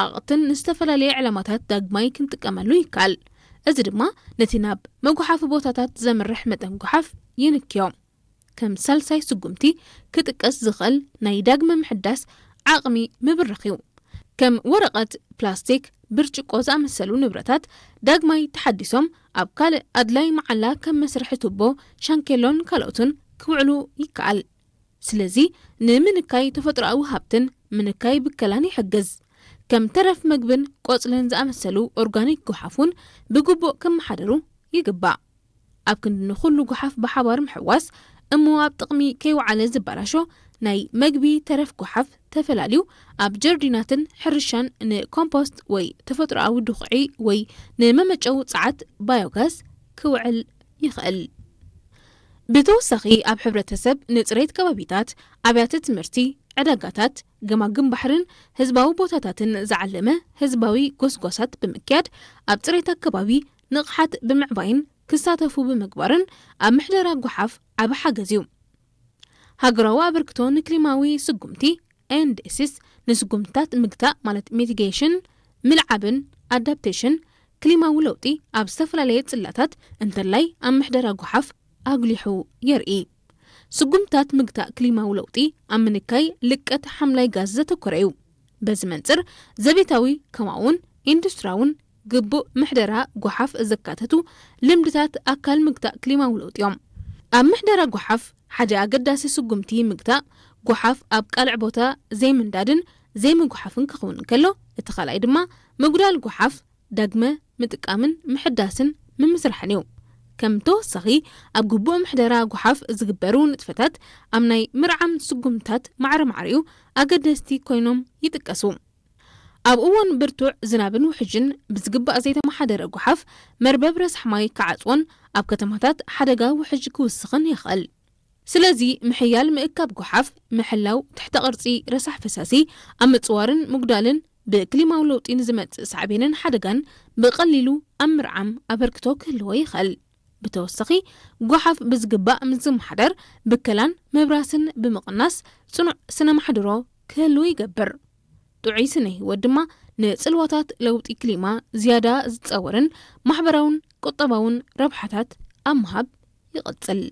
ኣቕትን ንዝተፈላለየ ዕላማታት ዳግማይ ክንጥቀመሉ ይከኣል። እዚ ድማ ነቲ ናብ መጉሓፊ ቦታታት ዘምርሕ መጠን ጎሓፍ ይንክዮ። ከም ሳልሳይ ስጉምቲ ክጥቀስ ዝኽእል ናይ ዳግመ ምሕዳስ ዓቕሚ ምብራኽ እዩ። ከም ወረቐት፣ ፕላስቲክ፣ ብርጭቆ ዝኣመሰሉ ንብረታት ዳግማይ ተሓዲሶም ኣብ ካልእ ኣድላይ መዓላ ከም መስርሒ ቱቦ፣ ሻንኬሎን ካልኦትን ክውዕሉ ይከኣል። ስለዚ ንምንካይ ተፈጥሮኣዊ ሃብትን ምንካይ ብከላን ይሕግዝ። ከም ተረፍ መግብን ቆጽልን ዝኣመሰሉ ኦርጋኒክ ጎሓፍ እውን ብግቡእ ክመሓደሩ ይግባእ። ኣብ ክንዲ ንኹሉ ጎሓፍ ብሓባር ምሕዋስ እሞ ኣብ ጥቕሚ ከይወዓለ ዝበላሾ ናይ መግቢ ተረፍ ጎሓፍ ተፈላልዩ ኣብ ጀርዲናትን ሕርሻን ንኮምፖስት ወይ ተፈጥሮኣዊ ድኹዒ ወይ ንመመጨዊ ጸዓት ባዮጋዝ ክውዕል ይኽእል። ብተወሳኺ ኣብ ሕብረተሰብ ንጽሬት ከባቢታት፣ ኣብያተ ትምህርቲ፣ ዕዳጋታት፣ ገማግም ባሕርን ህዝባዊ ቦታታትን ዝዓለመ ህዝባዊ ጎስጓሳት ብምክያድ ኣብ ጽሬት ኣከባቢ ንቕሓት ብምዕባይን ክሳተፉ ብምግባርን ኣብ ምሕደራ ጎሓፍ ዓቢ ሓገዝ እዩ። ሃገራዊ ኣበርክቶ ንክሊማዊ ስጉምቲ ኤንዲሲስ ንስጉምትታት ምግታእ ማለት ሚቲጌሽን፣ ምልዓብን ኣዳፕቴሽን ክሊማዊ ለውጢ ኣብ ዝተፈላለየ ጽላታት እንተላይ ኣብ ምሕደራ ጎሓፍ ኣጉሊሑ የርኢ። ስጉምትታት ምግታእ ክሊማዊ ለውጢ ኣብ ምንካይ ልቀት ሓምላይ ጋዝ ዘተኮረ እዩ። በዚ መንጽር ዘቤታዊ ከምኡውን ኢንዱስትሪያውን ግቡእ ምሕደራ ጎሓፍ ዘካተቱ ልምድታት ኣካል ምግታእ ክሊማዊ ለውጢ እዮም። ኣብ ምሕደራ ጎሓፍ ሓደ ኣገዳሲ ስጉምቲ ምግታእ ጎሓፍ ኣብ ቃልዕ ቦታ ዘይምንዳድን ዘይምጉሓፍን ክኸውን እንከሎ፣ እቲ ካልኣይ ድማ ምጉዳል ጎሓፍ ዳግመ ምጥቃምን ምሕዳስን ምምስራሕን እዩ። ከም ተወሳኺ ኣብ ግቡእ ምሕደራ ጎሓፍ ዝግበሩ ንጥፈታት ኣብ ናይ ምርዓም ስጉምትታት ማዕረ ማዕሪኡ ኣገደስቲ ኮይኖም ይጥቀሱ። ኣብ እዋን ብርቱዕ ዝናብን ውሕጅን ብዝግባእ ዘይተመሓደረ ጎሓፍ መርበብ ረሳሕ ማይ ክዓጽዎን ኣብ ከተማታት ሓደጋ ውሕጅ ክውስኽን ይኽእል። ስለዚ ምሕያል ምእካብ ጎሓፍ፣ ምሕላው ትሕተ ቅርጺ ረሳሕ ፈሳሲ፣ ኣብ ምጽዋርን ምጉዳልን ብክሊማዊ ለውጢ ንዝመጽእ ሳዕቤንን ሓደጋን ብቐሊሉ ኣብ ምርዓም ኣበርክቶ ክህልዎ ይኽእል። ብተወሳኺ ጎሓፍ ብዝግባእ ምስ ዝመሓደር ብከላን ምብራስን ብምቕናስ ጽኑዕ ስነ ማሕድሮ ክህልው ይገብር። ጥዑይ ስነ ህይወት ድማ ንጽልዋታት ለውጢ ክሊማ ዝያዳ ዝጸወርን ማሕበራውን ቁጠባውን ረብሓታት ኣብ ምሃብ ይቕጽል።